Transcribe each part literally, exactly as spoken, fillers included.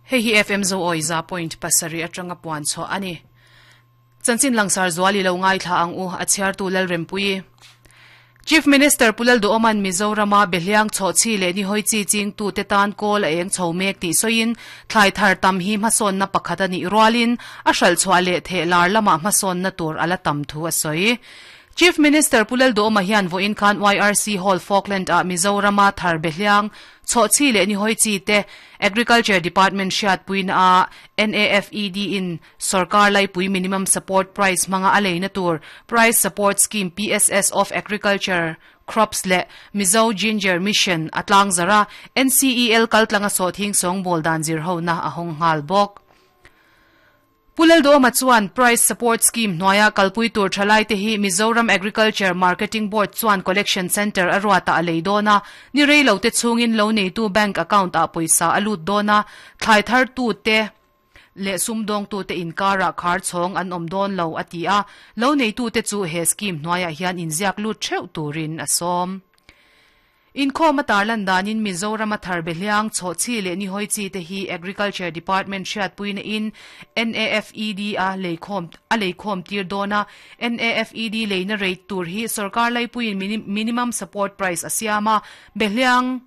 Hei hi F M zo oi za point pasarih atanga puan chhuah a ni. Chanchin langsar zual i lo ngaithla ang u, a chhiartu Lalrempuii. Chief Minister Pu Lalduhoma'n Mizorama Behliang chhawhchhi leh nihawi chi chingtute tan kawl a eng chho mek tih sawiin thlai thar tam hi hmasawnna pakhat a nih rualin a hralhchhuah leh theh lar lamah hmasawnna tur a la tam thu a sawi. Chief Minister Pu Lalduhoma hian vawiin khan Y R C Hall Falkland ah Mizorama thar Behliang chhawhchhi leh nihawi chi te Agriculture Department hriatpuina a N A F E D in sorkar laipui minimum support price hmanga a leina tur Price Support Scheme, P S S, of Agriculture Crops leh Mizo Ginger Mission a tlangzara N C E L kaltlanga sawhthing sawngbawl dan zir hona a hawng nghal bawk. Pu Lalduhoma chuan Price Support Scheme hnuaia kalpui tur thalai te hi Mizoram Agriculture Marketing Board chuan Collection Centre a ruata a lei dawn a, ni rei lo te chhungin lo neitu bank account ah pawisa a lut dawn a, thlai thar tu te leh sumdawng tu te inkara khar chhawng an awm dawn lo a ti a, lo neitu te chu he scheme hnuaiah hian inziak lut theuh turin a sawm. Inkhawm a tarlan danin Mizoram a thar Behliang chhawhchhi leh nihawi chi te hi Agriculture Department hriatpuina in N A F E D a leikhawm a leikhawm tir dawn a, N A F E D leina rate tur hi sorkar laipuiin minimum support price a siam a, Behliang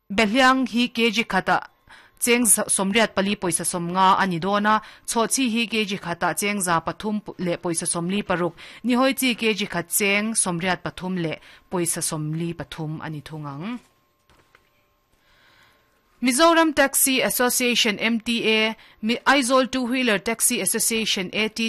Behliang hi kg khata cheng sawmriat pali pawisa sawmnga a ni dawn a, chhawhchhi hi kg khata cheng za pathum leh pawisa sawmli paruk, nihawi chi kg khat cheng sawmriat pathum leh pawisa sawmli pathum a ni thung ang. Mizoram Taxi Association M T A, Aizawl Two Wheeler Taxi Association A T